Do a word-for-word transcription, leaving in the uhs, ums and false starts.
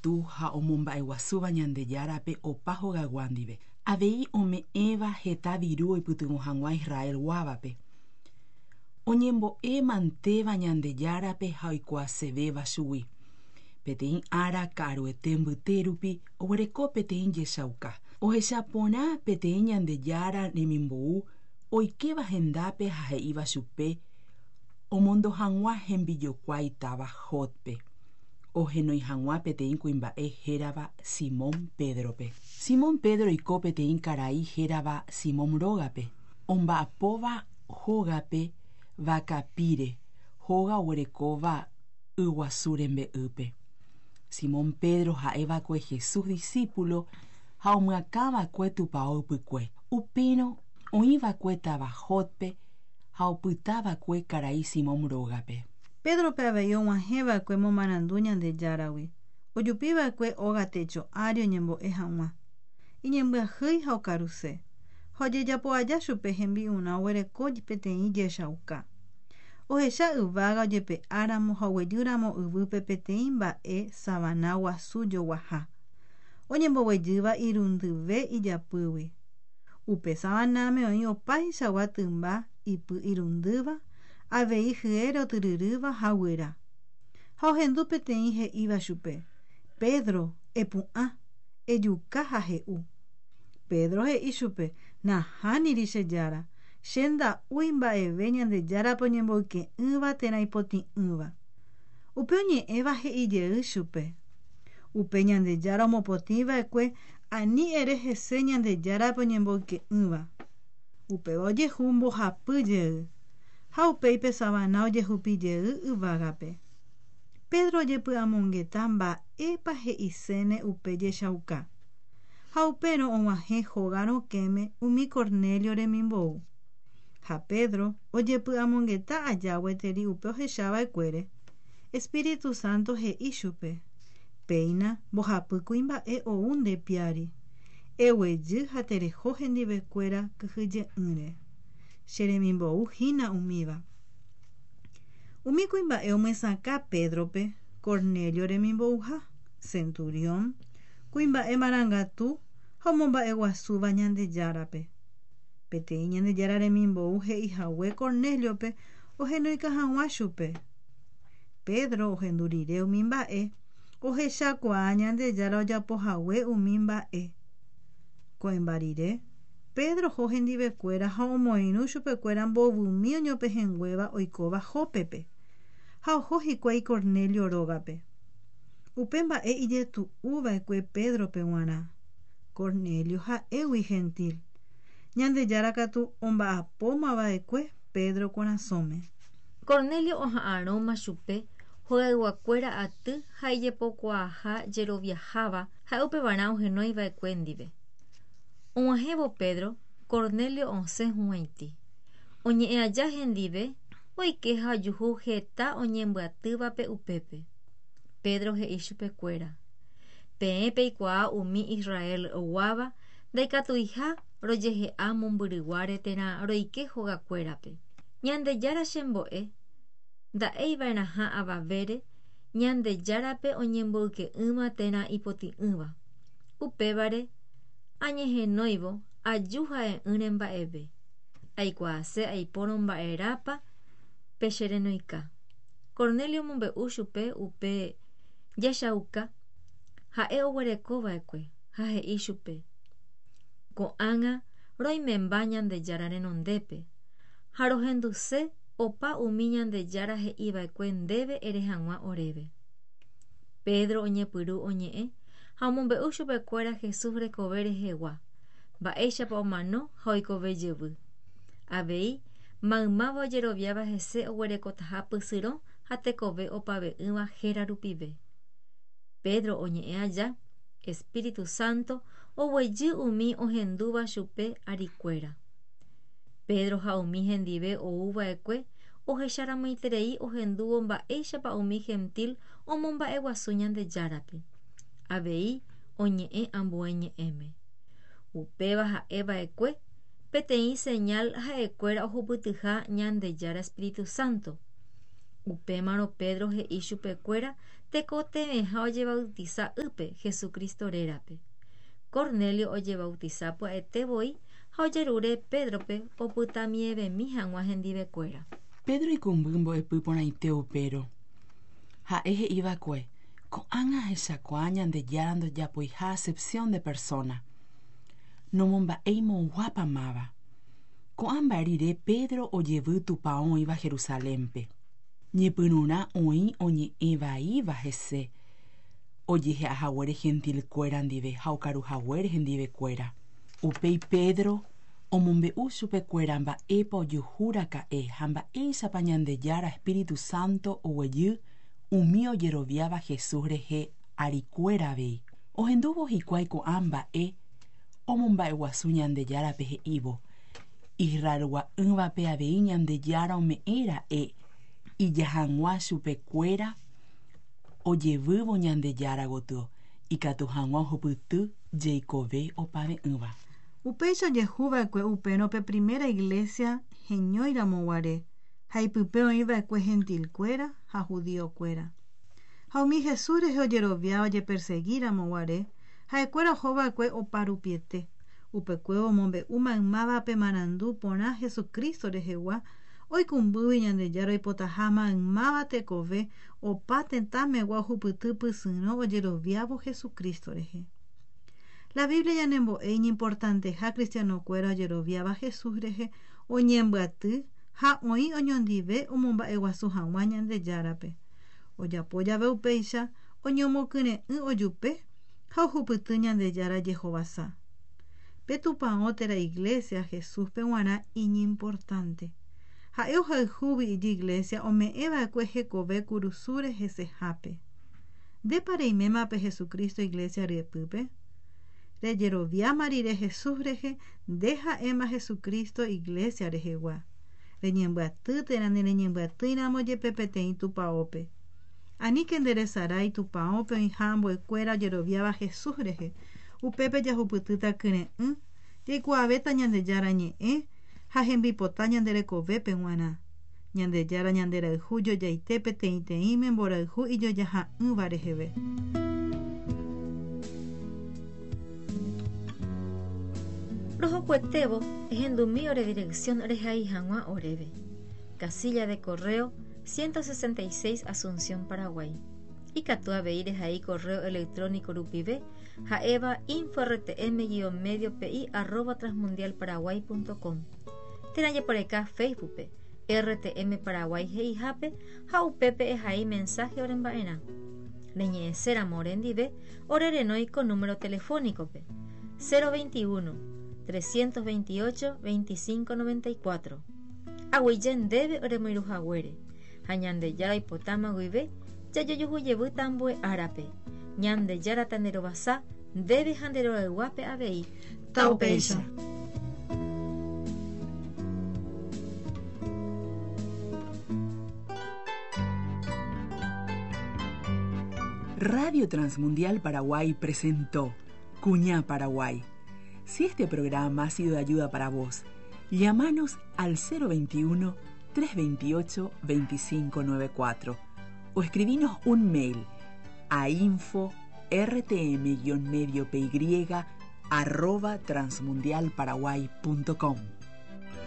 marangatu ha omomba'eguasúva Ñandejárape opa hogaygua ndive. Avei ome'ẽva heta viru oipytyvõ hag̃ua Israelguávape. Oñembo'e mantéva Ñandejárape ha oikuaasevéva chugui. Peteĩ ára ka'aruete mbyte rupi oguereko peteĩ jechauka. Ohecha porã peteĩ Ñandejára remimbou oikéva hendápe ha he'íva chupe omondo hag̃ua hembijokuái táva Jópe ohenói hag̃ua peteĩ kuimba'e hérava Simón Pedrope. Simón Pedro oiko peteĩ karai hérava Simón rógape, omba'apóva hógape vakapíre, hóga oguerekóva yguasu rembe'ýpe. Simón Pedro ha'eva'ekue Jesús discípulo ha omyakãva'ekue tupão ypykue. Upérõ oĩva'ekue táva Jópe ha opytava'ekue karai Simón rógape. Pédrope avei og̃uahẽva'ekue momarandu Ñandejáragui. Ojupiva'ekue óga techo ári oñembo'e hag̃ua. Iñembyahýi ha okaruse. Ha ojejapo aja chupe hembi'urã oguereko peteĩ jechauka. Ohecha yvága ojepe'áramo ha oguejýramo yvýpe peteĩ mba'e savana guasu joguaha. Oñemboguejýva irundyve ijapýgui. Upe savanáme oĩ opaichagua tymba ipy irundýva, avei hyére otyryrýva ha guyra. Ha ohendu peteĩ he'íva chupe: Pedro, epu'ã, ejuka ha he'u. Pedro he'i chupe: Nahániri che Jára, che nda'úi mba'eve Ñandejárape oñemboyke'ỹva térã ipotĩ'ỹva. Upe oñe'ẽva he'ijey chupe: Upe Ñandejára omopotĩva'ekue ani ere hese Ñandejárape oñemboyke'ỹva. Upéva ojehu mbohapy jey. Ha upéi pe savana ojehupijey yvágape. Pedro ojepy'amongeta mba'épa he'iséne upe jechauka. Ha upérõ og̃uahẽ hóga rokẽme umi Cornelio remimbou. Ha Pedro ojepy'amongeta aja gueteri upe ohechava'ekuére. Espíritu Santo he'i chupe: Péina mbohapy kuimba'e ou nde piári. Eguejy ha tereho hendivekuéra kyhyje'ỹre. Che remimbou hína umíva. Umi kuimba'e omyesakã Pedrope Cornelio remimbouha, centurión, kuimba'e marangatu ha omomba'eguasúva Ñandejárape. Peteĩ Ñandejára remimbou he'ihague Corneliope ohenoika hag̃ua chupe. Pedro ohendu rire umi mba'e ohechakuaa Ñandejára ojapohague umi mba'e. Ko'ẽmba rire, Pedro oho hendivekuéra ha omoirũ chupekuéra mbovymi oñopehẽnguéva oikóva Jópepe ha oho hikuái Cornelio rógape. Upe mba'e ijetu'uva'ekue Pedrope g̃uarã. Cornelio ha'égui gentil. Ñandejára katu omba'apómava'ekue Pedro korasõme. Cornelio oha'arõma chupe hogayguakuéra aty ha ijepokuaaha jeroviaháva ha'e upevarã ohenoiva'ekue ndive. Og̃uahẽvo Pedro, Cornelio osẽ hug̃uaitĩ. Oñe'ẽ aja hendive oike ha ojuhu heta oñembyatývape upépe. Pedro he'i chupekuéra: Peẽ peikuaa umi Israelguáva ndaikatuiha rojehe'a mombyryguáre térã roike hogakuérape. Ñandejára chembo'e nda'eiva'erãha avavére Ñandejárape oñemboyke'ỹva térã ipotĩ'ỹva. Upévare añehenóivo aju ha'e'ỹre mba'eve. Aikuaase aipórõ mba'erápa pecherenoika. Cornelio omombe'u chupe upe jechauka ha'e oguerekova'ekue ha he'i chupe: Ko'ág̃a roimemba Ñandejára renondépe ha rohenduse opa umi Ñandejára he'iva'ekue ndéve ere hag̃ua oréve. Pedro oñepyrũ oñe'ẽ ha omombe'u chupekuéra Jesús rekove rehegua, mba'éichapa omano ha oikove jevy. Avei maymáva ojeroviáva hese oguerekotaha pysyrõ ha tekove opave'ỹva héra rupive. Pedro oñe'ẽ aja, Espíritu Santo oguejy umi ohendúva chupe arikuéra. Pedro ha umi hendive ouva'ekue ohecharamoiterei ohendúvo mba'éichapa umi gentil omomba'eguasu Ñandejárape. Avei oñe'ẽ ambue ñe'ẽme. Upéva ha'eva'ekue peteĩ señal ha'ekuéra ohupytyha Ñandejára Espíritu Santo. Upémarõ Pedro he'i chupekuéra tekotevẽha ojebautisa ýpe Jesucristo rérape. Cornelio ojebautisa pya'ete voi ha ojerure Pedrope opytamievemi hag̃ua hendivekuéra. Pedro ikumby mbo'epy porãite upérõ. Ha'e he'iva'ekue ko'ág̃a ahechakuaa Ñandejára ndojapoiha acepción de persona. Nomomba'éimoguápamáva. Ko'ã mba'e rire Pedro ojevy tupão oĩva Jerusalénpe. Ñepyrũrã oĩ oñe'ẽvaíva hese ojehe'ahaguére gentilkuéra ndive ha okaruhaguére hendivekuéra. Upéi Pedro omombe'u chupekuéra mba'épa ojuhúraka'e ha mba'éichapa Ñandejára Espíritu Santo oguejy umi ojeroviáva Jesús rehe arikuéra avei. Ohendúvo hikuái ko'ã mba'e omomba'eguasu Ñandejárape he'ívo Israelgua'ỹvape avei Ñandejára ome'ẽra'e ija hag̃ua chupekuéra ojevývo Ñandejára gotyo ikatu hag̃ua ohupyty jeikove opave'ỹva. Upéicha ojehuva'ekue upérõ pe primera iglesia heñóiramoguare ha ipype oĩva'ekue gentilkuéra ha judiokuéra. Ha umi Jesús rehe ojerovia ojeperseguíramoguare ha'ekuéra ohova'ekue oparupiete. Upekuévo omombe'u maymávape marandu porã Jesucristo rehegua oikũmbýgui Ñandejára oipotaha maymáva tekove opa tetãmegua ohupyty pysyrõ ojeroviávo Jesucristo rehe. La Biblia ñanembo'e iñimportanteha cristianokuéra ojeroviáva Jesús rehe oñembyaty ha oĩ oñondive omomba'eguasu hag̃ua Ñandejárape. Ojapo jave upéicha oñomokyre'ỹ ojupe ha ohupyty Ñandejára jehovasa. Pe tupão térã iglesia Jesúspe g̃uarã iñimportante. Ha'e ohayhúgui ijiglesia ome'ẽva'ekue hekove kurusúre hesehápe. Ndépa reiméma pe Jesucristo iglesia ryepýpe? Rejeroviáma rire Jesús rehe nde ha'éma Jesucristo iglesia rehegua. Reñembyaty térã nereñembyatýiramo jepe peteĩ tupãópe. Aníke nderesarái tupãópe oĩha ambuekuéra ojeroviáva Jesús rehe. Upépe jahupytýta kyre'ỹ, jaikuaavéta Ñandejára ñe'ẽ ha hembipota ñande rekovépe g̃uarã. Ñandejára ñanderayhu jojaite peteĩteĩme mborayhu ijojaha'ỹva reheve. Rohokuetévo ehendumi ore dirección rehai hag̃ua oréve. Casilla de correo ciento sesenta y seis Asunción, Paraguay. Ikatu avei rehai correo electrónico rupive ha'éva info rtm guion medio pi arroba transmundialparaguay punto com. Térã jeporeka Facebookpe R T M Paraguay he'ihápe ha upépe ehai mensaje oremba'erã. Reñe'ẽséramo orendive orerenói ko número telefónicope cero veintiuno trescientos veintiocho veinticinco noventa y cuatro. Aguyje ndéve oremoirũhaguére ha Ñandejára oipotáma guive jajojuhujevy tambue árape. Ñandejára tanderovasa ndéve ha nderorayguápe avei. Taupéicha. Radio Transmundial Paraguay presentó Cuñá Paraguay. Si este programa ha sido de ayuda para vos, llámanos al cero veintiuno, tres veintiocho, veinticinco noventa y cuatro o escribinos un mail a info r t m guion medio p y arroba transmundialparaguay punto com.